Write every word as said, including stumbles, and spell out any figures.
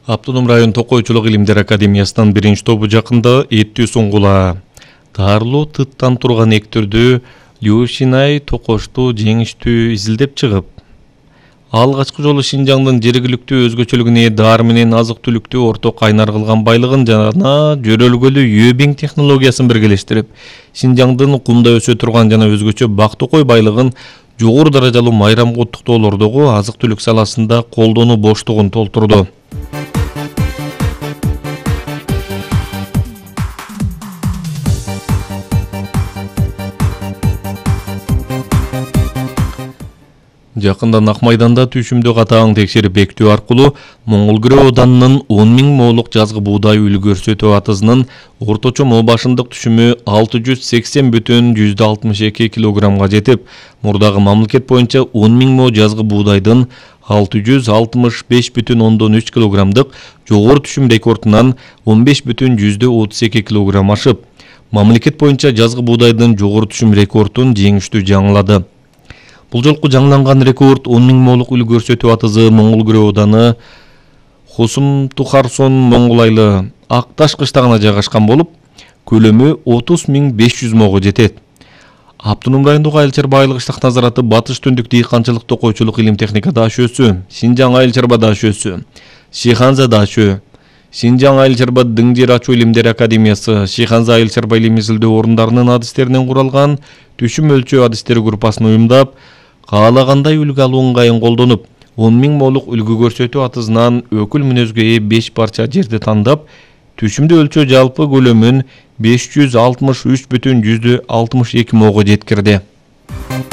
Автоном район Токойчулук илимдер академиясынын биринчи тобу жакында эттүү суңгула. Таарлуу тыттан турган эктердү Люшинай токошту жеңиштүү изилдеп чыгып, алгачкы жолу Шинжаңдын жергиликтүү өзгөчөлүгүнө дар менен азык-түлүктү орток кайнар кылган байлыгын жана жөрөлгөлүү Юбиң технологиясын биргелештирип, Шинжаңдын кумда өсө турган жана өзгөчө бак-токой байлыгын жогору даражалуу майрамга уттуктоолордогу азык-түлүк саласында колдонуу боштугун толтурду. Жакында Ак майданда түшүмдү катаң текшерип бекитүү аркылуу Моңгол Ауданынын он миң моолук жазгы буудай үлгү көрсөтүү атызынын орточо моо башындык түшүмү алты жүз сексен бүтүн жүздө алтымыш эки килограммга жетип, мурдагы мамлекет боюнча он миң мо жазгы буудайдын алты жүз алтымыш беш бүтүн ондон үч килограммдык жогору түшүм рекордунан он беш бүтүн жүздө отуз эки килограмм ашып, мамлекет боюнча жазгы буудайдын жогору түшүм рекордун жеңиштүү жаңылады. Бул жолку жаңыланган рекорд он миң моолук үлгү көрсөтүү атызы Моңгол ауданы Хосум-Тухарсон Моңгулайлы Акташ кыштагына жайгашкан болуп, көлөмү отуз миң беш жүз мого жетет. Автоном райондогу айыл чарба айыл кыштак назараты Батыш Түндүк дыйканчылык токойчулук илим техника дашөөсү, Шинжаң айыл чарба дашөөсү, Шиханза дашөө, Шинжаң айыл чарба Дыңжер ачуу илимдер академиясы, Шиханза айыл чарба илим изилдөө орундарынын адистеринен куралган түшүм өлчөө адистери группасын уюмдап, каалагандай үлгү алуу ыңгайын колдонуп, он миң моолук үлгү көрсөтүү атызынан өкүл мүнөзгө ээ беш парча жерди тандап, түшүмдү өлчөө жалпы көлөмүн беш жүз алтымыш үч бүтүн жүздө алтымыш эки мого жеткирди.